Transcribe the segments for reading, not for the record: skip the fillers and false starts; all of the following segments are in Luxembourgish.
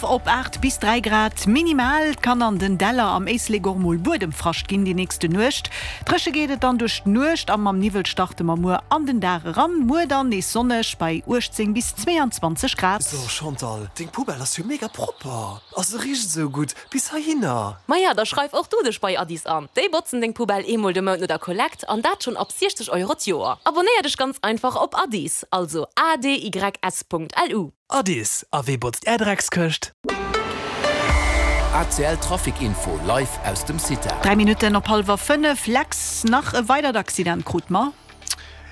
Op 8 bis 3 Grad minimal. Et kann an den Däller am Éislek och mol Buedemfrascht ginn déi nächste Nuecht. Dréche geet et dann duerch d'Nuecht a mam Niwwel starte mer muer an den Dag eran. Muer dann nees sonneg bei 18 bis 22 Grad. So Chantal, deng Poubelle ass jo mega propper a se richt esou gutt bis heihinner. Maja, da schreif och du dech bei Addis an. Déi botzen deng Poubelle eemol de Mount no der Kollekt an dat schonn ab 60 Euro d'Joer. Abonnéier dech ganz einfach op Addis, also adys.lu. Addis, a wee botzt är Dreckskëscht? ACL Trafic Info live aus dem CITA. 3 Minutten op hallwer 5, Lex, nach e weidert Accident krut mer.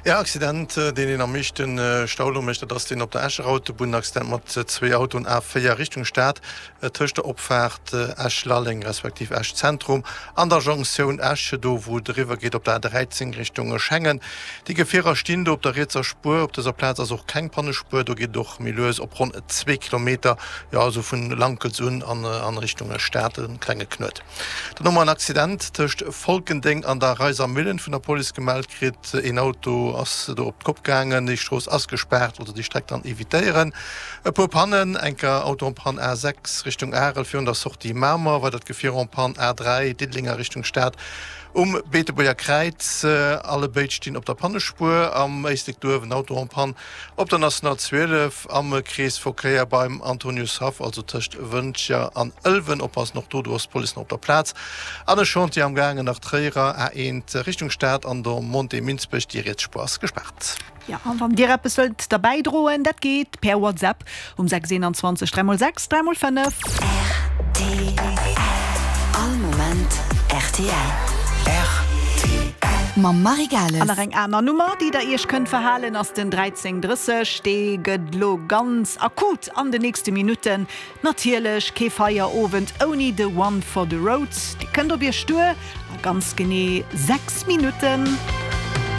Ja, Accident, deen een am meeschten Stau lo mécht, dat ass deen op der Escher Autobunn. Accident mat zwéi Autoen, A4 Richtung Stad, tëscht der Opfaart Esch-Lalleng respektiv Esch-Zentrum an der Jonktioun Esch, do wou et eriwwer geet op der A13 Richtung Schengen. Déi Gefierer stinn do op der rietser Spuer. Op dëser Plaz ass och keng Pannespuer. Do geet et och méi lues op ronn zwee Kilometer, jo also vun Lankels un an Richtung Stad, e klenge Knuet. Dann hu mer en Accident tëscht Folkendeng an der Reiser Millen vun der Police gemellt kritt. Een Auto ass do op d'Kopp gaangen. Déi Strooss ass gespaart, also déi Streck dann evitéieren. E puer Pannen, enker Auto en panne A6 Richtung Arel virun der Sortie Mamer, weidert Gefier en panne A3 Diddeleng a Richtung Stad um Beetebuerger Kräiz. Alle béid stinn op der Pannespuer. Am Éislek Duerf en Auto en panne op der National 12 am Kreesverkéier beim Antoniushaff, also tëscht Wëntger an Ëlwen. Oppassen och do, do ass d'Police nach op der Plaz. An e Chantier am gaangen nach Tréierer A1 Richtung Stad an der Montée Minsbech, déi riets Spuer ass gespaart. Jo, an wann dir eppes wëllt derbäi droen, dat geet per WhatsApp um 6 21 3 x 6 3 x 5. Rtl, All Moment rtl. Rtl. Mam Marie Gales. An nach eng aner Nummer, déi der iech kënnt verhalen, ass den 1330. Dee gëtt lo ganz akut an de nächste Minutten. Natierlech kee Feierowend ouni de One for the Road. Dee kënnt op iech duer a ganz genee 6 Minutten.